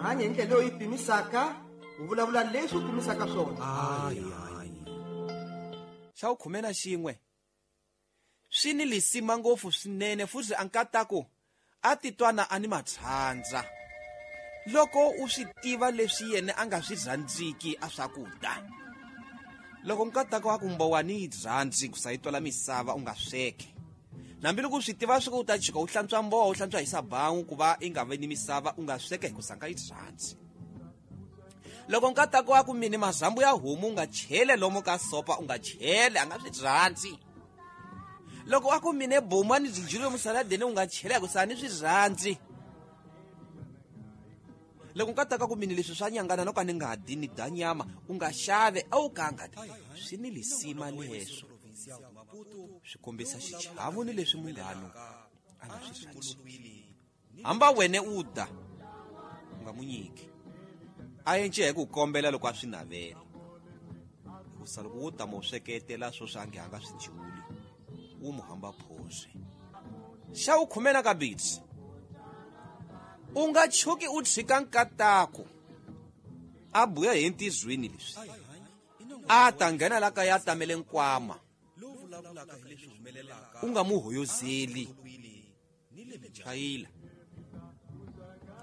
Hanya hi ndlela leyi u yi pimisaka, u vulavula leswi u pimisaka swona. Xa vukhume na xin'we swi ni lisima ngopfu swinene futhi a nkataku a titwana a ni matshandza loko u swi tiva leswi yena a nga swi rhandziki a swakudya. Loko nkatako a ku mbowa ni yi rhandzi ku sa yi twala misava u nga sweke, hambiloko u swi tiva swa ku u ta chika u hlantswa mbowa u hlantswa hi sabawu ku va i nga vi ni misava, u nga sweke hi ku sanga yi rhandzi. Loko nkatako a ku mini mazambu ya homu u nga chele lomo ka sopa, u nga chele, a nga swi rhandzi. Loko a ku mine bomu a ni byi dyile musaladeni, u nga chele hi ku sa ni swi rhandzi. Loko nkatako a ku mini leswi swa nyangana no ka ni nga dyi ni dya nyama, u nga xave a wu ka nga dyi. Swi ni lisima leswo, swi kombisa xichavo ni leswi munghano a nga swi rhandzi. Hamba wena u da, u nga mu nyiki. A yence hi ku kombela loko a swi navela. Hikusa loko wo tama u sweketela swo swa nge a nga swi dyuli, wu mu hamba phoswe. Xa vukhume na kabisi, u nga tshuki u tshika nkatako a buya hi ntizweni leswi a ta nghena la kaya a tamele nkwama, u nga mu hoyozeli. Chayila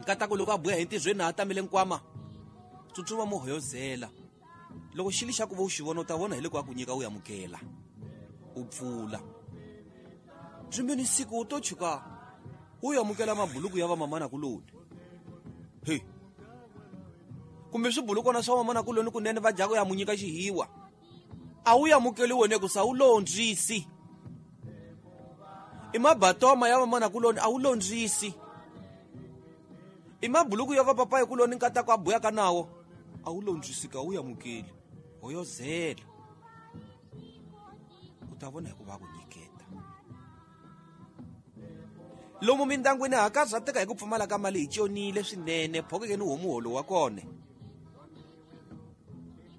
nkatako loko a buya hi ntizweni a tamele nkwama, tsutsuma mu hoyozela. Loko xili xa ku va u xi vona, u ta vona hi loko a ku nyika u amukela, u pfula. Rimeni siku u to tshuka u amukela mabuluku ya vamamana kuloni. He, kumbe swibulukwana swa vamamana kuloni kunene va dyaka ya mu nyika xihiwa, a wu amukeli wena ku sa wu londzisi. I mabatoma ya vamamana kuloni a wu londzisi. I mabuluku ya vapapayi kuloni nkatako a buyaka nawo a wu londzisi, ka wu amukeli, hoyozela. U ta vona hi ku va ku nyiketa. Lomu mindyangwini ha karhateka hi ku pfumala ka mali, hi tjonile swinene, phokeke ni homu muholo wa kona.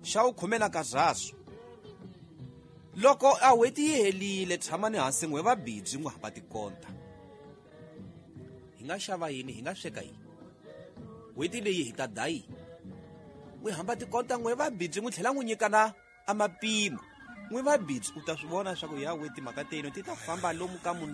Xa vukhume na kazaswo, loko a n'hweti yi helile, tshamani hansi n'we va bidzi n'wi hamba tikonta. Hi nga xava yini, hi nga sweka yini? N'hweti leyi hi ta dya yini? N'wi hamba tikonta n'we va bidzi, n'wi tlhela n'wi nyikana a mapimo. N'wi va bidzi, u ta swi vona swa ku ya we timhaka tenu ti ta famba lomu ka munhu.